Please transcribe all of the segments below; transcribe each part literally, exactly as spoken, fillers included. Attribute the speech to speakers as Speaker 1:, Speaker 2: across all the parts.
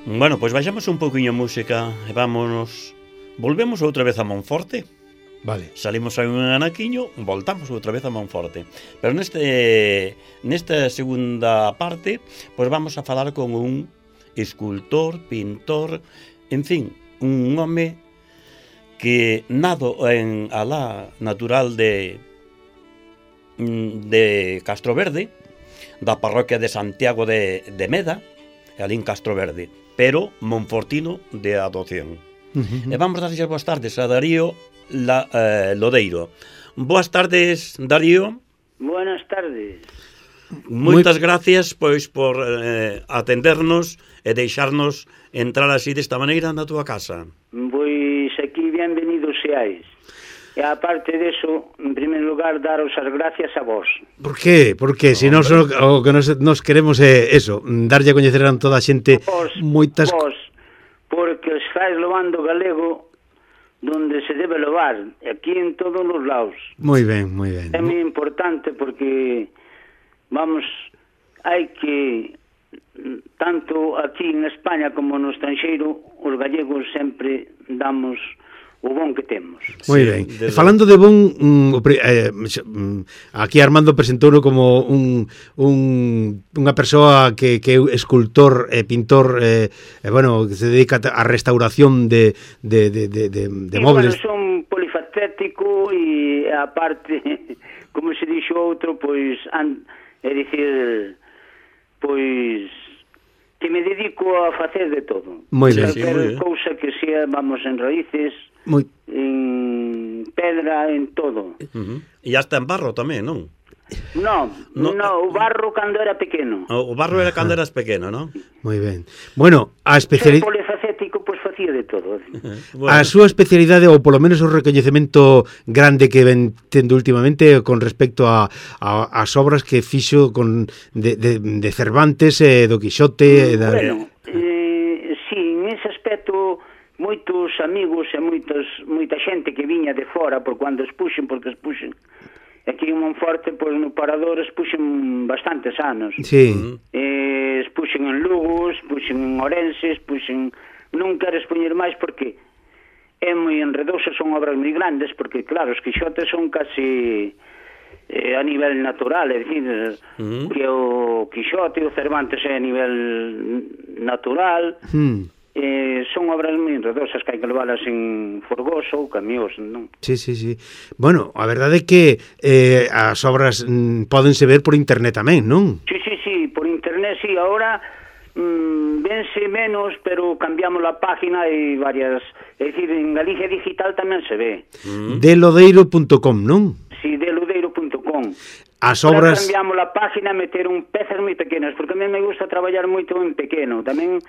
Speaker 1: Bueno, pois baixamos un pouquiño a música e vámonos. Volvemos outra vez a Monforte.
Speaker 2: Vale.
Speaker 1: Salimos a un anaquiño, voltamos outra vez a Monforte. Pero neste nesta segunda parte, pois vamos a falar con un escultor, pintor, en fin, un home que nado en alá natural de de Castroverde, da parroquia de Santiago de, de Meda, ali en Castroverde, pero monfortino de adopción. Uh-huh. E vamos a dar boas tardes a Darío La, eh, Lodeiro. Boas tardes, Darío.
Speaker 3: Buenas tardes.
Speaker 1: Moitas Muy... gracias pois por eh, atendernos e deixarnos entrar así desta maneira na túa casa.
Speaker 3: Pois aquí bienvenidos seáis. E aparte deso, en primer lugar, daros as gracias a vos.
Speaker 2: Por qué? Porque no, se nós o que nos, nos queremos é eso, darlle a coñecer a toda a xente
Speaker 3: vos,
Speaker 2: moitas...
Speaker 3: Vos, porque os fais levando galego donde se debe levar, aquí en todos os lados.
Speaker 2: Moi ben, moi ben.
Speaker 3: É moi importante porque, vamos, hai que, tanto aquí en España como no estranxeiro, os gallegos sempre damos o bon que temos.
Speaker 2: Moi ben. Sí, falando de bon, um, eh, aquí Armando presentouno como un, un unha persoa que, que é escultor e eh, pintor, eh, eh, bueno, que se dedica á restauración de, de, de, de, de, de
Speaker 3: sí,
Speaker 2: móviles.
Speaker 3: Bueno, son polifacético e aparte, como se dixo outro, pois, an, é dicir, pois... que me dedico a facer de todo.
Speaker 2: Moi ben.
Speaker 3: Calquer cousa que sea, vamos, en raíces, Muy... en pedra, en todo.
Speaker 1: Uh-huh. E hasta en barro tamén, non?
Speaker 3: No, no, no, o barro cando era pequeno.
Speaker 1: O barro era cando eras pequeno, non?
Speaker 2: Moi ben. Bueno, a especialidade...
Speaker 3: Ser polifacético, pois pues, facía de todo.
Speaker 2: Bueno. A súa especialidade, ou polo menos o recoñecemento grande que ven tendo últimamente con respecto a, a as obras que fixo con de, de, de Cervantes e do Quixote...
Speaker 3: Mm,
Speaker 2: da...
Speaker 3: Bueno, eh, sí, en ese aspecto... moitos amigos e moitos, moita xente que viña de fora por cando expuxen, porque expuxen aquí en Monforte, pois no Parador expuxen bastantes anos.
Speaker 2: Sí.
Speaker 3: Eh, expuxen en Lugo, expuxen en Ourense, expuxen... Non quero expoñer máis porque é moi enredoso, son obras moi grandes, porque claro, os Quixotes son casi eh, a nivel natural, é dicir, uh-huh. que o Quixote e o Cervantes é a nivel natural... Hmm. Eh, son obras moi enredosas que hai que leválas en forgoso ou camións, non?
Speaker 2: Sí, sí, sí. Bueno, a verdade é que eh, as obras mm, pódense ver por internet tamén, non?
Speaker 3: Sí, sí, sí, por internet, sí. Ahora mm, vense menos, pero cambiamos a página e varias... É dicir, en Galicia Digital tamén se ve.
Speaker 2: Mm. de lodeiro punto com, non?
Speaker 3: Sí, de lodeiro punto com.
Speaker 2: As obras...
Speaker 3: Ahora cambiamos a página a meter un pezas moi pequenas, porque a mí me gusta traballar moito en pequeno. Tamén...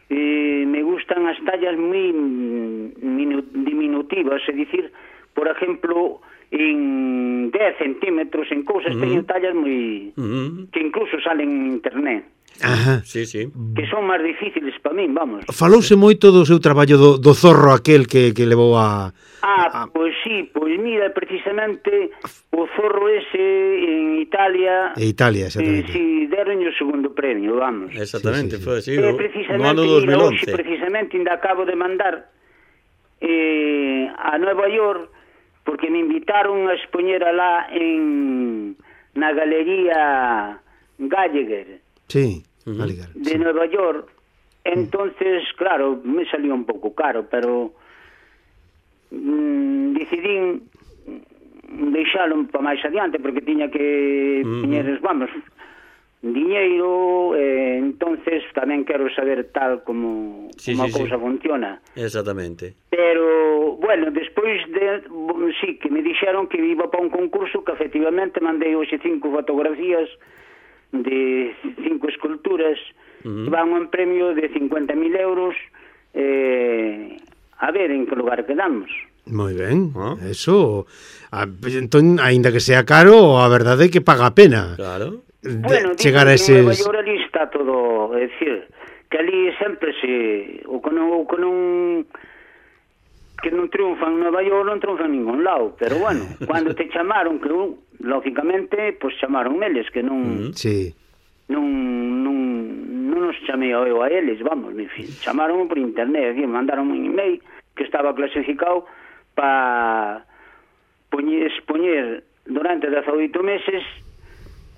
Speaker 3: Eh, me gustan as tallas moi minu, diminutivas, é dicir, por exemplo, en dez centímetros, en cousas, uh-huh. teño tallas moi... Uh-huh. que incluso salen en internet.
Speaker 2: Ajá.
Speaker 1: Sí, sí.
Speaker 3: Que son máis difíciles para min, vamos.
Speaker 2: Falouse moito do seu traballo do, do zorro aquel que, que levou a...
Speaker 3: Ah, a... pois sí, pois mira, precisamente o zorro ese en Italia...
Speaker 2: En Italia, exactamente.
Speaker 3: Eh, si, deron o segundo premio, vamos.
Speaker 1: Exactamente, sí, sí, sí. Foi así,
Speaker 3: eh,
Speaker 1: no ano dos mil once.
Speaker 3: Mira, precisamente, ainda acabo de mandar eh, a Nueva York, porque me invitaron a expoñer alá en na Galería Gallagher.
Speaker 2: Sí,
Speaker 3: uh-huh. de sí. Nueva York. Entonces, claro, me salió un pouco caro, pero mm, decidín deixalo para máis adiante, porque tiña que uh-huh. teñer, vamos, diñeiro, eh, entonces tamén quero saber tal como,
Speaker 1: sí,
Speaker 3: como
Speaker 1: sí,
Speaker 3: a cousa
Speaker 1: sí.
Speaker 3: funciona.
Speaker 1: Exactamente.
Speaker 3: Pero, bueno, despois de, sí, que me dixeron que iba para un concurso, que efectivamente mandei hoxe cinco fotografías de cinco esculturas, uh-huh. van un premio de cincuenta mil euros, eh, a ver en que lugar quedamos.
Speaker 2: Moi ben, ¿Ah? Eso a, entón, aínda que sea caro, a verdade é que paga a pena.
Speaker 1: Claro.
Speaker 3: Bueno,
Speaker 2: chegar a eses...
Speaker 3: en Nueva York ali está todo, é dicir, que ali sempre se o que non, o que non que non triunfan en Nueva York non triunfan en ningún lado, pero bueno, cando te chamaron, que lógicamente, pois pues, chamaron eles, que non
Speaker 2: sí.
Speaker 3: non, non, non non nos chamei eu a eles, vamos, me chamaron por internet, aquí, mandaron un email que estaba clasificado para poñer, expoñer durante dezaoito meses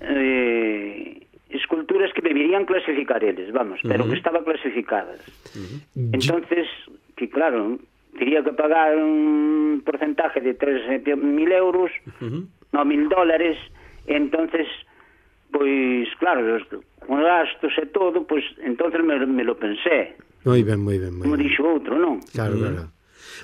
Speaker 3: eh, esculturas que deberían clasificar eles, vamos, pero uh-huh. que estaban clasificadas. Uh-huh. Entonces, que claro, tería que pagar un porcentaje de tres mil euros, uh-huh. no, mil dólares, entonces, pois, claro, con gastos e todo, pois, entonces me, me lo pensé.
Speaker 2: Moi ben, moi ben, moi
Speaker 3: Como
Speaker 2: ben.
Speaker 3: dixo outro, non?
Speaker 2: Claro, uh-huh. claro.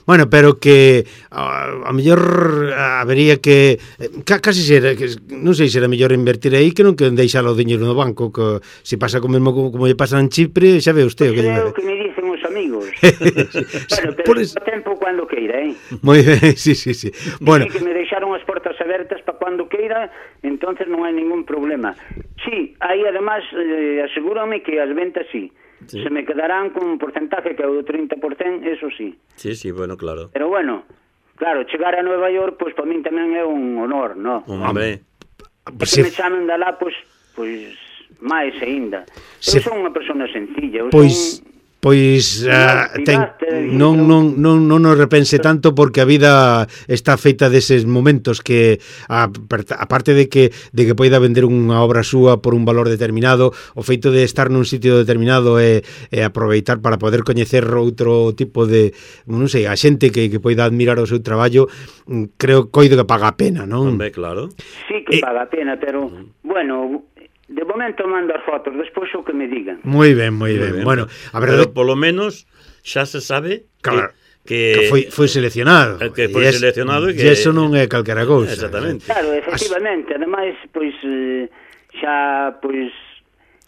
Speaker 2: Bueno, pero que a, a mellor habería que ca, casi ser, que, non sei se era mellor invertir aí que non que deixalo o diñeiro no banco, que se pasa co mesmo como, como lle pasa en Chipre, xa ve usted o que lle
Speaker 3: Creo que me dicen os amigos. Bueno, pero por es... tempo cando queira, eh?
Speaker 2: Moi ben, sí, sí, sí. Bueno,
Speaker 3: que me deixaron as portas abertas para cando queira, entonces non hai ningún problema. Sí, aí además eh, asegúrame que as ventas sí. Sí. Se me quedarán con un porcentaje que é o do treinta por cento, eso sí.
Speaker 1: Sí, sí, bueno, claro.
Speaker 3: Pero bueno, claro, chegar a Nueva York, pois pues, para min tamén é un honor, no?
Speaker 1: Hombre.
Speaker 3: E que me chamen de lá, pois, pues, pois, máis aínda. Eu son unha persona sencilla, eu
Speaker 2: pois...
Speaker 3: son...
Speaker 2: Pois uh, ten, non, non, non, non nos repense tanto porque a vida está feita deses momentos que a, aparte de que de que poida vender unha obra súa por un valor determinado, o feito de estar nun sitio determinado e, e aproveitar para poder coñecer outro tipo de, non sei, a xente que, que poida admirar o seu traballo, creo coido que paga a pena, non?
Speaker 1: Hombre, claro.
Speaker 3: Sí que paga a pena, pero bueno... De momento mando as fotos, despois o que me digan.
Speaker 2: Moi ben, moi ben. ben. Bueno, a verdade...
Speaker 1: Pero polo menos xa se sabe
Speaker 2: claro,
Speaker 1: que,
Speaker 2: que, que foi, foi seleccionado.
Speaker 1: Que foi es, seleccionado e que...
Speaker 2: E eso non é calquera cousa.
Speaker 1: Exactamente.
Speaker 3: Claro, efectivamente. As... Ademais, pois, xa, pois,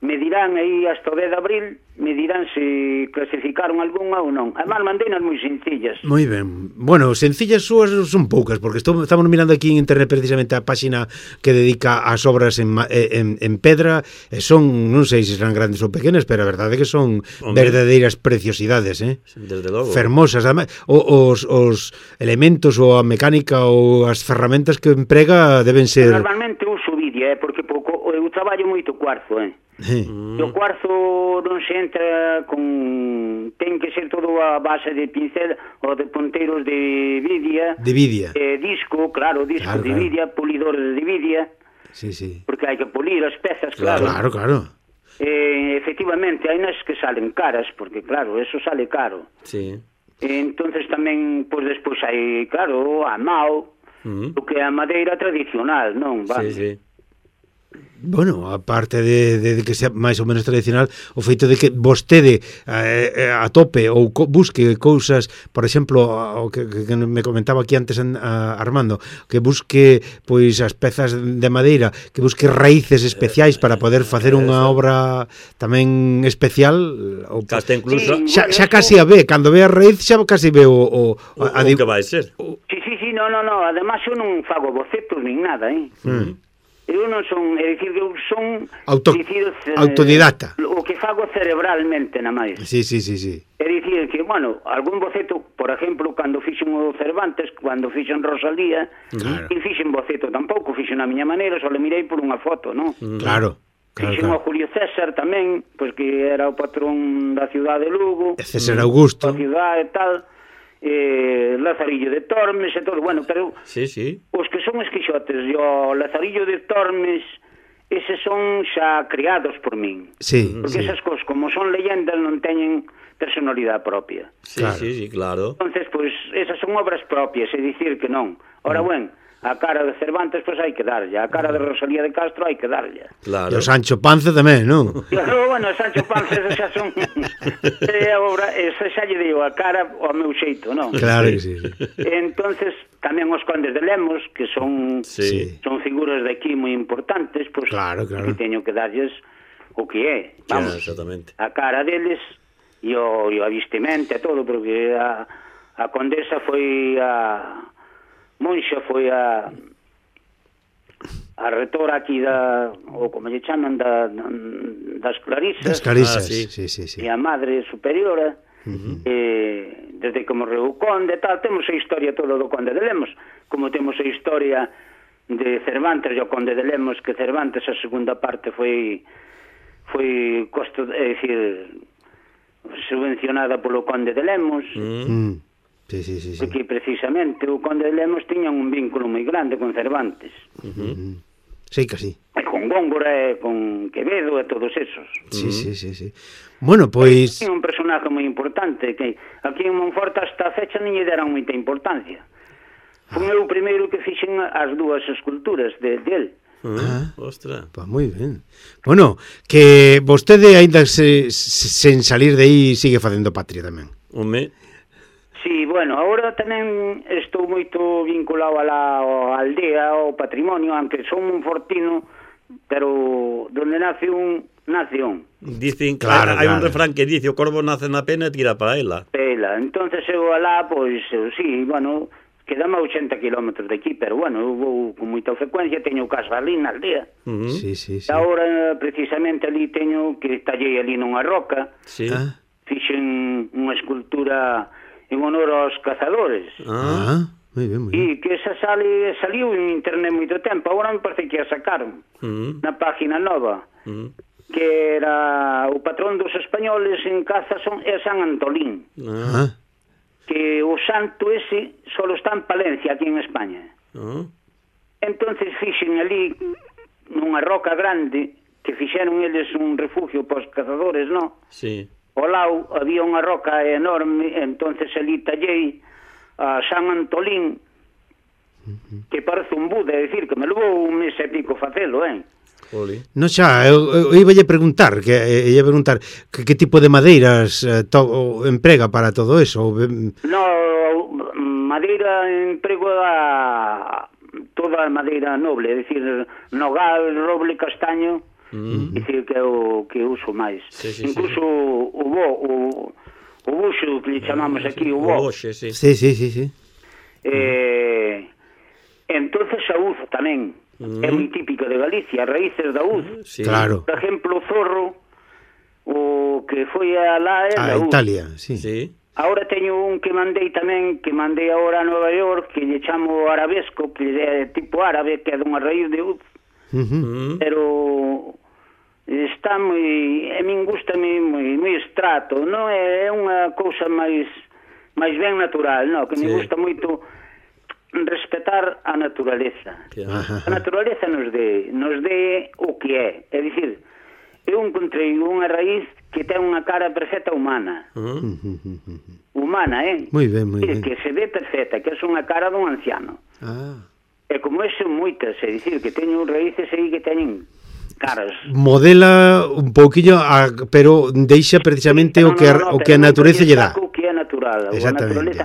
Speaker 3: me dirán aí hasta o dez de abril, me dirán se clasificaron algunha ou non. Además, mandeinas moi sencillas.
Speaker 2: Moi ben. Bueno, sencillas súas son poucas, porque estou, estamos mirando aquí en internet precisamente a páxina que dedica ás obras en, en, en pedra, e son, non sei se serán grandes ou pequenas, pero a verdade é que son Hombre. verdadeiras preciosidades, eh?
Speaker 1: Desde logo.
Speaker 2: Fermosas. Además, os, os elementos ou a mecánica ou as ferramentas que emprega deben ser...
Speaker 3: Normalmente uso vidia, eh? Porque pouco, eu traballo moito cuarzo, eh?
Speaker 2: Sí.
Speaker 3: Mm. O cuarzo non se entra con... ten que ser todo a base de pincel ou de ponteiros de vidia.
Speaker 2: De vidia.
Speaker 3: Eh, disco, claro, disco claro, de claro. vidia, polidores de vidia.
Speaker 2: Sí, sí.
Speaker 3: Porque hai que polir as pezas,
Speaker 2: claro. Claro, claro.
Speaker 3: Eh, efectivamente, hai nas que salen caras, porque claro, eso sale caro.
Speaker 1: Sí.
Speaker 3: Eh, entonces tamén, pois pues, despois hai, claro, a mao, mm. o que é a madeira tradicional, non? Vale.
Speaker 1: Sí, sí.
Speaker 2: Bueno, aparte de, de, de que sea máis ou menos tradicional, o feito de que vostede eh, a tope ou co, busque cousas, por exemplo, o que, que me comentaba aquí antes a Armando, que busque pois as pezas de madeira, que busque raíces especiais para poder facer unha obra tamén especial, ou
Speaker 1: hasta incluso
Speaker 2: sí, xa, xa casi a ve, cando ve a raíz xa casi ve o, o,
Speaker 1: o, a, o que vai ser.
Speaker 3: O, sí, sí, sí, no, no, no, además eu non fago bocetos nin nada, eh. Mm. Eu non son, é dicir, eu son
Speaker 2: Auto,
Speaker 3: dicir,
Speaker 2: autodidacta.
Speaker 3: O que fago cerebralmente na máis.
Speaker 2: Sí, sí, sí, sí.
Speaker 3: É dicir que, bueno, algún boceto, por exemplo, cando fixen o Cervantes, cando fixen Rosalía, claro. E fixen boceto tampouco, fixen a miña maneira, só le mirei por unha foto, non?
Speaker 2: Claro. Claro,
Speaker 3: fixen
Speaker 2: claro.
Speaker 3: o Julio César tamén, pois que era o patrón da cidade de Lugo.
Speaker 2: César Augusto.
Speaker 3: Da cidade e tal. Eh, Lazarillo de Tormes e todo, bueno, pero
Speaker 1: sí, sí.
Speaker 3: os que son esquixotes e o Lazarillo de Tormes, eses son xa criados por min,
Speaker 2: sí,
Speaker 3: porque
Speaker 2: sí.
Speaker 3: esas cosas, como son leyendas, non teñen personalidade propia.
Speaker 1: Sí, claro. sí, sí, claro.
Speaker 3: Entonces, pois, pues, esas son obras propias, é dicir que non. Ora, mm. bueno, a cara de Cervantes, pois pues, hai que darlle, a cara de Rosalía de Castro hai que darlle.
Speaker 2: Claro. E o Sancho Panza tamén, non?
Speaker 3: Claro, bueno, Sancho Panza xa son... é a obra, esa xa lle digo a cara ao meu xeito, non?
Speaker 2: Claro que sí, sí.
Speaker 3: Entonces, tamén os condes de Lemos, que son
Speaker 2: sí.
Speaker 3: son figuras de aquí moi importantes, pois pues,
Speaker 2: claro, claro.
Speaker 3: que teño que darlles o que é, vamos,
Speaker 1: claro, exactamente.
Speaker 3: A cara deles e o, e o avistimento e todo, porque a, a condesa foi a... Monxa foi a a retora aquí da, ou como lle chaman, da, das Clarisas.
Speaker 2: Das Clarisas,
Speaker 1: ah, sí.
Speaker 2: Sí, sí, sí.
Speaker 3: E a madre superiora,
Speaker 2: uh-huh.
Speaker 3: eh, desde que morreu o conde, tal, temos a historia todo do conde de Lemos, como temos a historia de Cervantes e o conde de Lemos, que Cervantes a segunda parte foi foi costo, é dicir, subvencionada polo Conde de Lemos.
Speaker 2: Mm. Sí, sí, sí, sí.
Speaker 3: Porque precisamente o Conde de Lemos tiña un vínculo moi grande con Cervantes.
Speaker 2: Uh-huh. Sí, que sí.
Speaker 3: E con Góngora, e con Quevedo, e todos esos.
Speaker 2: Sí, sí, sí, sí. Bueno, pois...
Speaker 3: É un personaje moi importante, que aquí en Monforte hasta a fecha non lle deran moita importancia. Foi ah. eu o primeiro que fixen as dúas esculturas de, de él.
Speaker 2: Ah,
Speaker 1: ostra.
Speaker 2: Pues moi ben. Bueno, que vostede aínda se, se, sen salir de aí sigue facendo patria tamén.
Speaker 1: Home.
Speaker 3: Sí, bueno, agora tamén estou moito vinculado a la a aldea, ao patrimonio, aunque son un fortino, pero donde nace un, nace un.
Speaker 1: Dicen,
Speaker 2: claro,
Speaker 1: hai
Speaker 2: claro.
Speaker 1: un refrán que dice o corvo nace na pena e tira para ela.
Speaker 3: Pela, entonces eu alá, pois, sí, bueno, quedame a ochenta kilómetros de aquí, pero bueno, eu vou con moita frecuencia, teño casa ali na aldea.
Speaker 1: Uh -huh.
Speaker 2: Sí, sí, sí.
Speaker 3: E agora, precisamente, ali teño que tallei ali nunha roca,
Speaker 1: Sí.
Speaker 2: Ah,
Speaker 3: fixen unha escultura en honor aos cazadores.
Speaker 2: ah, moi ben, moi ben.
Speaker 3: E que esa sale, saliu en internet moito tempo, agora me parece que a sacaron
Speaker 1: Uh -huh.
Speaker 3: na página nova,
Speaker 1: Uh -huh.
Speaker 3: que era o patrón dos españoles en caza son, é San Antolín,
Speaker 1: Ah.
Speaker 2: Ah,
Speaker 3: que o santo ese solo está en Palencia, aquí en España.
Speaker 1: Ah.
Speaker 3: Entonces fixen ali nunha roca grande, que fixeron eles un refugio para os cazadores, non?
Speaker 1: Sí.
Speaker 3: Ao lado había unha roca enorme, entonces ali tallei a San Antolín, que parece un Buda, é dicir, que me levou un mes e pico facelo, eh?
Speaker 1: Oli.
Speaker 2: no xa, eu, eu iballe preguntar, que eh, ia preguntar que, que tipo de madeiras eh, to, emprega para todo eso? Ou, ben-
Speaker 3: No, madeira emprego a toda a madeira noble, é dicir, nogal, roble, castaño,
Speaker 1: Mm.
Speaker 3: é dicir, que é o que uso máis.
Speaker 1: Sí, sí,
Speaker 3: Incluso
Speaker 1: sí.
Speaker 3: o bo, o, o buxo que lle chamamos aquí, o
Speaker 1: O
Speaker 3: bo.
Speaker 1: boxe, sí.
Speaker 2: Sí, sí, sí, sí.
Speaker 3: Eh, entonces a uzo tamén.
Speaker 1: Mm.
Speaker 3: É moi típica de Galicia, raíces da uzo.
Speaker 1: Sí.
Speaker 2: Claro.
Speaker 3: Por exemplo, o zorro, o que foi a lá é
Speaker 2: A
Speaker 3: da uzo.
Speaker 2: Italia, sí.
Speaker 1: Sí.
Speaker 3: Ahora teño un que mandei tamén, que mandei agora a Nova York, que lle chamo arabesco, que é tipo árabe, que é dunha raíz de uzo,
Speaker 2: Uh-huh.
Speaker 1: Mm.
Speaker 3: pero está moi, a min gusta moi, moi, moi extrato, non é, é unha cousa máis máis ben natural, non, que me
Speaker 1: Sí.
Speaker 3: gusta moito respetar a naturaleza.
Speaker 1: Que-
Speaker 2: Ajá.
Speaker 3: A naturaleza nos dé, nos dé o que é, é dicir, eu encontrei unha raíz que ten unha cara perfecta humana,
Speaker 1: Mm.
Speaker 3: humana, eh?
Speaker 2: Moi ben, moi
Speaker 3: É
Speaker 2: ben.
Speaker 3: que se ve perfecta, que é unha cara dun anciano.
Speaker 2: Ah.
Speaker 3: E como ese moitas, é dicir, que teño raíces aí que teñen caras.
Speaker 2: Modela un pouquiño, a, pero deixa precisamente o que a, o que a natureza lle dá.
Speaker 3: O que é natural, a
Speaker 2: Exactamente.
Speaker 3: naturaleza.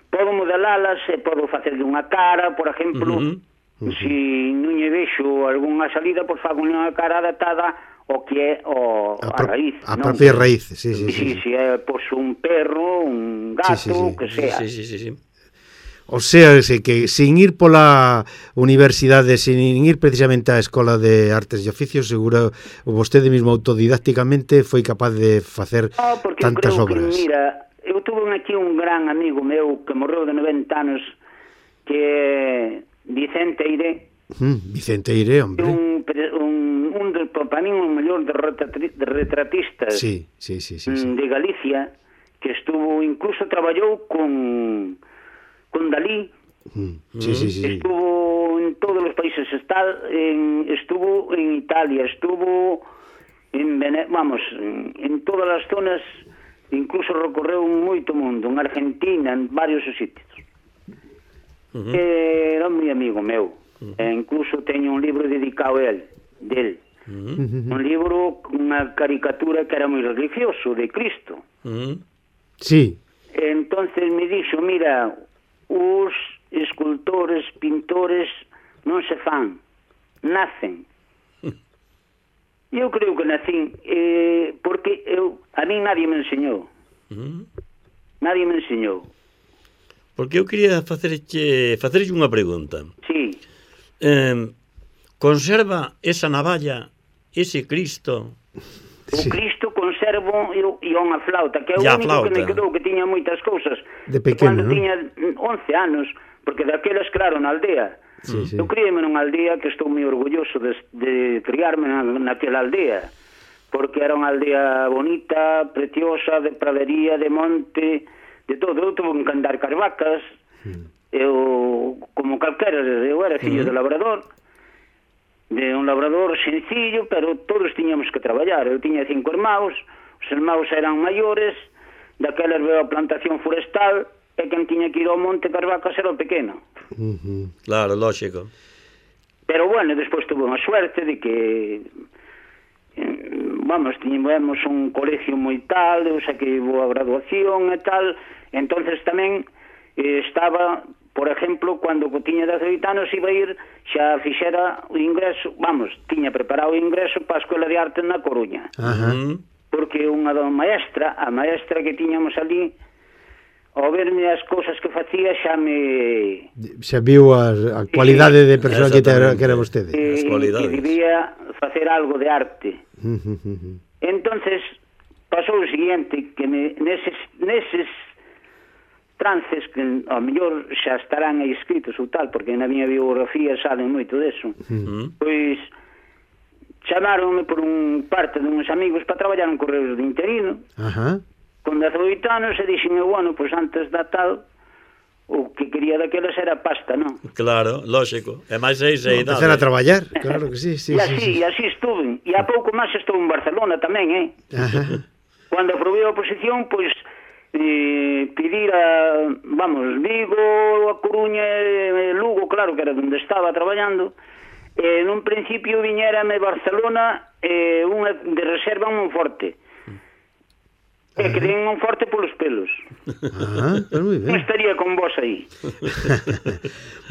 Speaker 3: Podo modelalas e podo facerlle unha cara, por exemplo,
Speaker 1: Uh
Speaker 3: uh -huh. se non lle vexo algunha salida, pois fago unha cara adaptada ao que é o,
Speaker 2: A,
Speaker 3: a,
Speaker 2: pro,
Speaker 3: raíz.
Speaker 2: a
Speaker 3: non?
Speaker 2: propia raíz, sí, sí,
Speaker 3: Si,
Speaker 2: sí.
Speaker 3: si, é pois un perro, un gato,
Speaker 2: Sí, sí, sí.
Speaker 3: que
Speaker 1: Sí,
Speaker 3: sea.
Speaker 1: sí, sí, sí, sí.
Speaker 2: O sea, se que sin ir pola universidade, sin ir precisamente á Escola de Artes e Oficios, seguro vostede mesmo autodidácticamente foi capaz de facer
Speaker 3: No, porque
Speaker 2: tantas
Speaker 3: eu creo
Speaker 2: obras.
Speaker 3: que, mira, eu tuve aquí un gran amigo meu que morreu de noventa anos, que é Vicente Eire,
Speaker 2: Mm, Vicente Eire, hombre.
Speaker 3: un, un, un dos, para mí, un mellor de, retratri, de retratistas
Speaker 2: Sí, sí, sí, sí,
Speaker 3: mm,
Speaker 2: sí.
Speaker 3: de Galicia, que estuvo, incluso traballou con, con Dalí,
Speaker 2: Mm, sí, sí, sí, sí.
Speaker 3: estuvo en todos os países, está en, estuvo en Italia, estuvo en Vene vamos, en, en todas as zonas, incluso recorreu moito mundo, en Argentina, en varios sitios.
Speaker 1: Uh -huh.
Speaker 3: Era moi amigo meu. Uh -huh. E incluso teño un libro dedicado a él, del.
Speaker 1: Uh
Speaker 2: -huh.
Speaker 3: Un libro, unha caricatura que era moi religioso, de Cristo.
Speaker 1: -huh.
Speaker 2: Sí.
Speaker 3: Entonces me dixo, mira, os escultores, pintores non se fan, nacen. Eu creo que nacín, eh, porque eu, a mí nadie me enseñou.
Speaker 1: Uh -huh.
Speaker 3: Nadie me enseñou.
Speaker 1: Porque eu quería facerche, facerche unha pregunta.
Speaker 3: Sí.
Speaker 1: Eh, conserva esa navalla, ese Cristo?
Speaker 3: O
Speaker 2: Sí.
Speaker 3: Cristo conservo e, e unha flauta, que é o
Speaker 1: Ya,
Speaker 3: único
Speaker 1: flauta.
Speaker 3: que me quedou, que tiña moitas cousas.
Speaker 2: De pequeno,
Speaker 3: Cando
Speaker 2: ¿no?
Speaker 3: tiña once anos, porque daquelas, claro, na aldea.
Speaker 2: Sí, sí.
Speaker 3: Eu criei-me nunha aldea que estou moi orgulloso de, de criarme na, naquela aldea. porque era unha aldea bonita, preciosa, de pradería, de monte, de todo. Eu tuve que andar carvacas, mm. eu, como calquera, eu era fillo mm. de labrador, de un labrador sencillo, pero todos tiñamos que traballar. Eu tiña cinco irmãos, os irmãos eran maiores, daquelas veo a plantación forestal, e quen tiña que ir ao monte carvacas era o pequeno.
Speaker 1: Uh-huh. Claro, lógico.
Speaker 3: Pero bueno, despois tuve unha suerte de que vamos, tiñemos un colegio moi tal, eu saquei boa graduación e tal, entonces tamén eh, estaba, por exemplo, cando tiña dezaoito anos iba a ir, xa fixera o ingreso, vamos, tiña preparado o ingreso para a Escola de Arte na Coruña.
Speaker 1: Ajá.
Speaker 3: Porque unha da maestra, a maestra que tiñamos ali, ao verme as cousas que facía xa me...
Speaker 2: Xa viu a, a cualidade de persoa que, te, que era vostede.
Speaker 3: E, que debía facer algo de arte. Entonces pasou o seguinte, que me, neses, neses trances que ao mellor xa estarán aí escritos ou tal, porque na miña biografía salen moito deso, uh-huh. pois chamaronme por un parte de uns amigos para traballar en Correos de Interino. Ajá. Con dezaoito anos e dixen, bueno, pois antes da tal o que quería daquelas era pasta, non?
Speaker 1: Claro, lógico. E máis seis e
Speaker 2: idade. Empezar a traballar, claro que sí, sí.
Speaker 3: E así,
Speaker 2: sí, sí.
Speaker 3: e así estuve. E a pouco máis estou en Barcelona tamén, eh? Ajá. Cando aprobei a oposición, pois eh, pedir a, vamos, Vigo, a Coruña e Lugo, claro que era onde estaba traballando. Eh, nun principio viñérame Barcelona eh, unha de reserva en Monforte. E que den un forte polos pelos.
Speaker 2: Ah, pues moi ben.
Speaker 3: Non estaría con vos aí.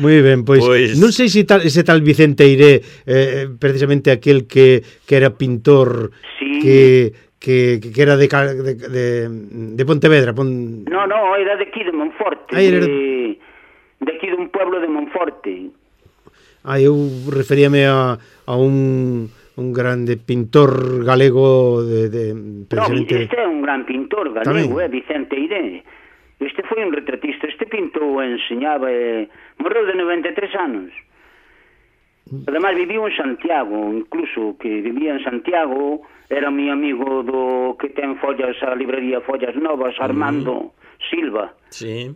Speaker 2: Moi ben, pois, pues... non sei se tal, ese tal Vicente Eiré, eh, precisamente aquel que, que era pintor, sí. que, que, que era de, de, de, de Pontevedra. Pon...
Speaker 3: No, no, era de aquí, de Monforte. Ah, era... de, de aquí dun pueblo de Monforte.
Speaker 2: Ah, eu referíame a, a un... un grande pintor galego de, de
Speaker 3: precisamente... No, este é un gran pintor galego, é eh, Vicente Eiré. Este foi un retratista, este pintou, enseñaba, eh, morreu de noventa e tres anos. Ademais viviu en Santiago, incluso que vivía en Santiago, era mi amigo do que ten follas, a librería Follas Novas, Armando mm. Silva.
Speaker 1: Sí.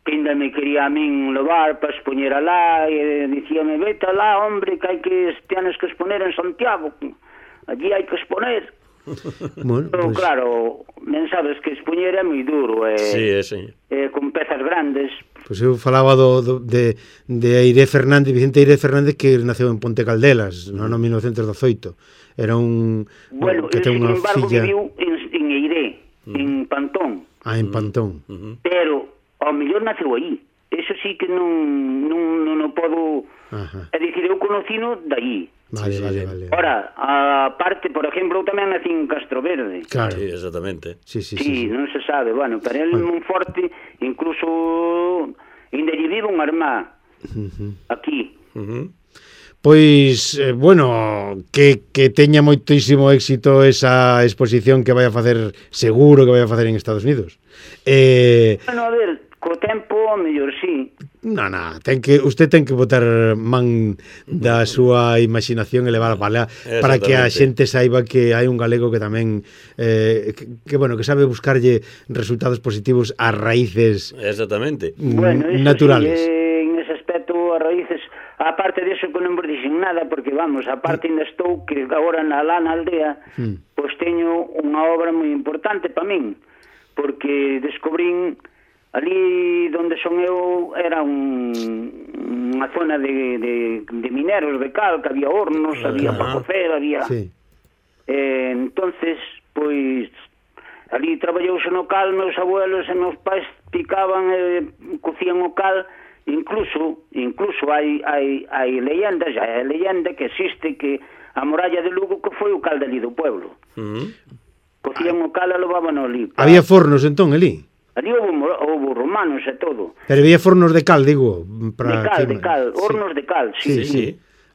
Speaker 3: Que ainda me quería a min levar para expoñer alá, e dicíame, vete alá, hombre, que hai que tienes que exponer en Santiago, allí hai que exponer. Bueno, pero pues... claro, ben sabes que expoñer é moi duro, e,
Speaker 1: sí, sí.
Speaker 3: e con pezas grandes.
Speaker 2: Pois pues eu falaba do, do, de, de Eiré Fernández, Vicente Eiré Fernández, que naceu en Ponte Caldelas, no ano mil novecentos dezoito. Era un...
Speaker 3: Bueno, que ten unha filla... viviu en, en Eiré, uh-huh. en Pantón.
Speaker 2: Ah, en Pantón.
Speaker 3: Uh-huh. Pero... ao mellor naceu aí. Eso sí que non non, non o podo... Ajá. É dicir, eu conocino daí.
Speaker 2: Vale, sí, vale, vale.
Speaker 3: Ora, a parte, por exemplo, eu tamén nací en Castro Verde.
Speaker 2: Claro.
Speaker 1: Sí, exactamente.
Speaker 2: Sí, sí,
Speaker 3: sí, sí, sí. Non se sabe. Bueno, pero el bueno. Monforte, incluso, ainda lle vive unha irmá uh-huh. aquí.
Speaker 2: Uh-huh. Pois, eh, bueno, que, que teña moitísimo éxito esa exposición que vai a facer, seguro que vai a facer en Estados Unidos. Eh...
Speaker 3: Bueno, a ver, co tempo, mellor sí.
Speaker 2: No, no, ten que, usted ten que botar man da súa imaginación e levar a pala para que a xente saiba que hai un galego que tamén eh, que, que, bueno, que sabe buscarlle resultados positivos ás raíces.
Speaker 1: Exactamente.
Speaker 3: Bueno,
Speaker 2: naturales.
Speaker 3: Sí, eh, en ese aspecto, as raíces, aparte de eso que non vos dixen nada, porque vamos, aparte ainda estou que agora na lá na aldea, mm. pois teño unha obra moi importante para min, porque descubrín ali donde son eu era un, unha zona de, de, de mineros de cal, que había hornos, uh-huh. había para cocer, había... Sí. Eh, entonces, pois, ali traballouse no cal, meus abuelos e meus pais picaban e cocían o cal, incluso, incluso hai, hai, hai leyendas, hai leyenda que existe que a muralla de Lugo que foi o cal dali do pueblo. Uh-huh. Cocían o cal e levaban ali. Pa...
Speaker 2: Había fornos entón ali?
Speaker 3: Ali houve, houve romanos e todo.
Speaker 2: Pero había fornos de cal, digo.
Speaker 3: Para de cal, que... de cal, hornos sí. de cal, sí, sí. sí. sí.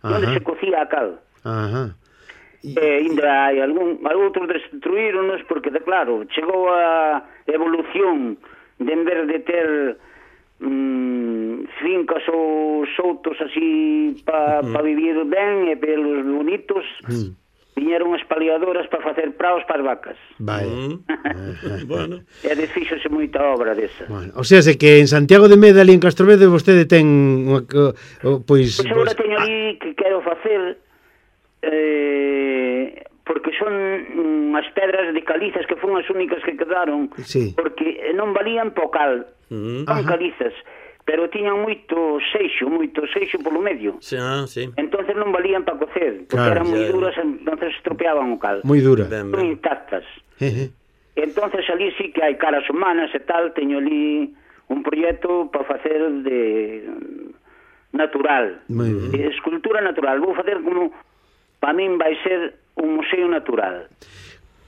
Speaker 3: Onde se cocía a cal.
Speaker 2: Ajá.
Speaker 3: E eh, ainda hai algún, outros destruíronos porque, de claro, chegou a evolución de en vez de ter mmm, fincas ou soutos así para mm. pa vivir ben e pelos bonitos, mm. viñeron as paliadoras para facer praos para as vacas.
Speaker 2: Vai.
Speaker 1: Mm. Bueno.
Speaker 3: E desfíxose moita obra desa.
Speaker 2: Bueno, o sea, se que en Santiago de Meda ali en Castrovede vostede ten unha, o, pois,
Speaker 3: Pois agora
Speaker 2: pois,
Speaker 3: teño ali que quero facer eh, porque son unhas pedras de calizas que foron as únicas que quedaron,
Speaker 2: sí.
Speaker 3: porque non valían po cal,
Speaker 1: Mm.
Speaker 3: son calizas, pero tiñan moito seixo, moito seixo polo medio.
Speaker 1: Sí, ah, sí.
Speaker 3: Entonces non valían para cocer, porque
Speaker 2: Claro,
Speaker 3: eran moi
Speaker 1: ya,
Speaker 3: duras, entonces estropeaban o cal.
Speaker 2: moi dura.
Speaker 1: Ben,
Speaker 3: Son
Speaker 1: ben.
Speaker 3: intactas.
Speaker 2: Eh, eh.
Speaker 3: Entonces ali sí que hai caras humanas e tal, teño ali un proxecto para facer de natural,
Speaker 2: Moi ben.
Speaker 3: de escultura natural. Vou facer como, para min vai ser un museo natural.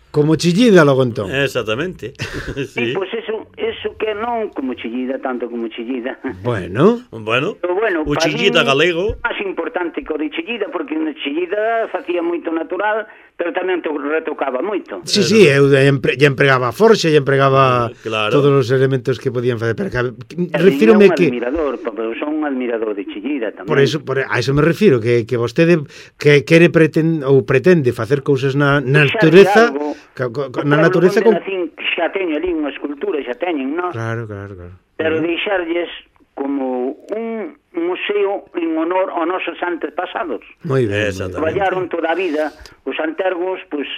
Speaker 2: Como Chillida logo entón.
Speaker 1: Exactamente.
Speaker 3: Sí,
Speaker 1: Sí.
Speaker 3: pois pues eso, eso que non como Chillida, tanto como Chillida.
Speaker 2: Bueno,
Speaker 1: Bueno,
Speaker 3: Pero bueno,
Speaker 1: o
Speaker 3: para
Speaker 1: Chillida
Speaker 3: min
Speaker 1: galego.
Speaker 3: é máis importante que o de Chillida, porque na Chillida facía moito natural, pero tamén to retocaba moito.
Speaker 2: sí, sí, eu lle empre, empregaba forxa, lle empregaba
Speaker 1: Claro.
Speaker 2: todos os elementos que podían facer, pero que,
Speaker 3: E
Speaker 2: refírome
Speaker 3: un
Speaker 2: que
Speaker 3: admirador, pero son un admirador de Chillida tamén.
Speaker 2: por eso, por, a eso me refiro, que, que vostede que quere pretende, ou pretende facer cousas na, na natureza,
Speaker 3: algo,
Speaker 2: ca, ca,
Speaker 3: o
Speaker 2: na
Speaker 3: pueblo
Speaker 2: natureza
Speaker 3: onde
Speaker 2: con...
Speaker 3: nacín, xa teño ali unha escultura, xa teñen, non?
Speaker 2: Claro, claro, claro.
Speaker 3: Pero deixarlles como un museo en honor aos nosos antepasados.
Speaker 2: Moi ben.
Speaker 1: Exactamente.
Speaker 3: Traballaron toda a vida, os antergos, pois,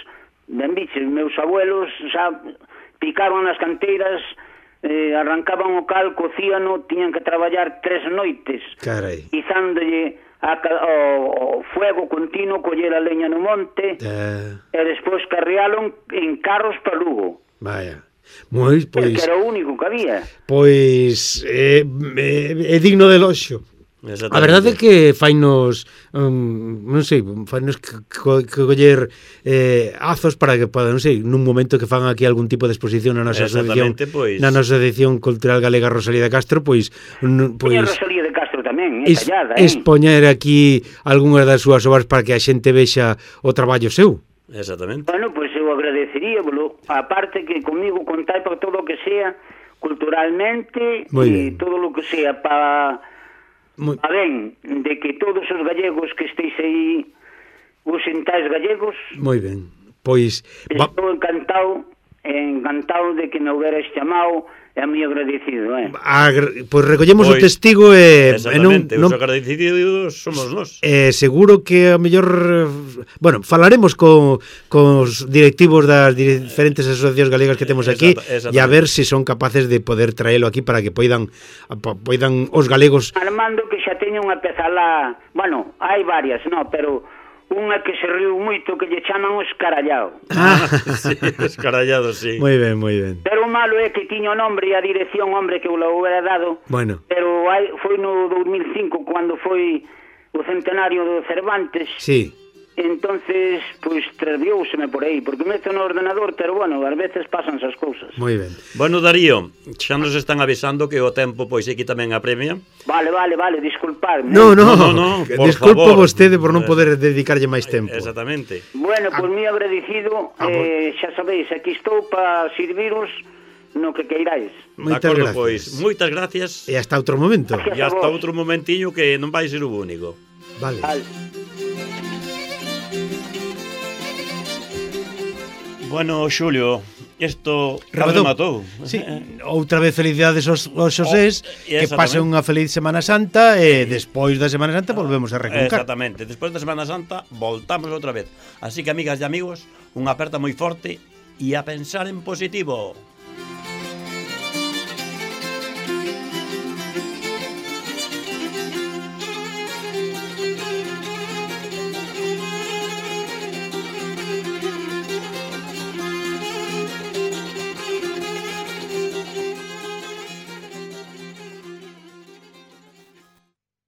Speaker 3: ben biches, meus abuelos xa picaron nas canteiras, eh, arrancaban o cal, cocíano, tiñan que traballar tres noites,
Speaker 2: Carai.
Speaker 3: izándolle a, o, o fuego continuo, coller a leña no monte,
Speaker 2: Eh,
Speaker 3: e despois carrearon en carros para Lugo.
Speaker 2: vaya. Moi,
Speaker 3: Pois...
Speaker 2: pois,
Speaker 3: Que era o único que había.
Speaker 2: pois é, é, é digno de loxo.
Speaker 1: Exactamente.
Speaker 2: A verdade é que fainos, um, non sei, fainos que, que, que coller eh, azos para que, para, non sei, nun momento que fan aquí algún tipo de exposición na nosa asociación,
Speaker 1: Exactamente, pois.
Speaker 2: na nosa edición cultural galega Rosalía de Castro, pois, n-
Speaker 3: Pois...
Speaker 2: pois
Speaker 3: Rosalía de Castro tamén, é
Speaker 2: es,
Speaker 3: callada, eh?
Speaker 2: expoñer aquí algunhas das súas obras para que a xente vexa o traballo seu.
Speaker 1: Exactamente.
Speaker 3: Bueno, pois eu agradecería, bolo, aparte que comigo contai para todo o que sea culturalmente
Speaker 2: Moi
Speaker 3: e
Speaker 2: ben.
Speaker 3: todo o que sea para
Speaker 2: Moi,
Speaker 3: a ben de que todos os gallegos que estéis aí os sintais gallegos,
Speaker 2: moi ben. Pois, va,
Speaker 3: estou encantado, encantado de que me hubieras chamado, é moi agradecido, eh?
Speaker 2: agr- pois recollemos o
Speaker 1: Pois,
Speaker 2: testigo e, e non,
Speaker 1: Exactamente,
Speaker 2: non
Speaker 1: os agradecidos somos nós.
Speaker 2: Eh, seguro que a mellor eh, bueno, falaremos co, cos directivos das diferentes asociacións galegas que temos aquí
Speaker 1: Exacta-
Speaker 2: e a ver se son capaces de poder traelo aquí para que poidan po- poidan os galegos.
Speaker 3: Armando que xa teña unha peza lá, bueno, hai varias, no, pero unha que se riu moito que lle chaman o escarallao.
Speaker 2: Ah,
Speaker 1: Sí, escarallado, sí.
Speaker 2: moi ben, moi ben.
Speaker 3: Pero o malo é que tiña o nombre e a dirección, hombre, que eu lo hubiera dado,
Speaker 2: Bueno,
Speaker 3: pero hai, foi no dos mil cinco cando foi o centenario do Cervantes.
Speaker 2: sí.
Speaker 3: Entonces, pois, travióuseme por aí, porque meto no ordenador, pero bueno, ás veces pasan esas cousas.
Speaker 2: Moi ben.
Speaker 1: Bueno, Darío, xa nos están avisando que o tempo pois aquí tamén apremia.
Speaker 3: Vale, vale, vale, disculpadme.
Speaker 2: No, no,
Speaker 1: No, no, no, por
Speaker 2: disculpo
Speaker 1: favor.
Speaker 2: vostede por non poder dedicarlle máis tempo.
Speaker 1: Exactamente.
Speaker 3: Bueno, pois moi agradecido,
Speaker 2: Ah,
Speaker 3: eh, xa sabéis, aquí estou para serviros no que queiráis.
Speaker 1: De
Speaker 2: Moitas
Speaker 1: acordo,
Speaker 2: gracias.
Speaker 1: pois, moitas gracias.
Speaker 2: E hasta outro momento.
Speaker 3: Gracias.
Speaker 1: E hasta outro momentiño que non vai ser o único.
Speaker 2: Vale.
Speaker 3: Vale.
Speaker 1: Bueno, Xulio, isto
Speaker 2: Rematou.
Speaker 1: rematou.
Speaker 2: Sí, outra vez felicidades aos, aos xosés,
Speaker 1: Oh,
Speaker 2: que
Speaker 1: exactamente.
Speaker 2: pasen unha feliz Semana Santa e despois da Semana Santa volvemos a reconcar.
Speaker 1: Exactamente. Despois da Semana Santa voltamos outra vez. Así que, amigas e amigos, unha aperta moi forte e a pensar en positivo.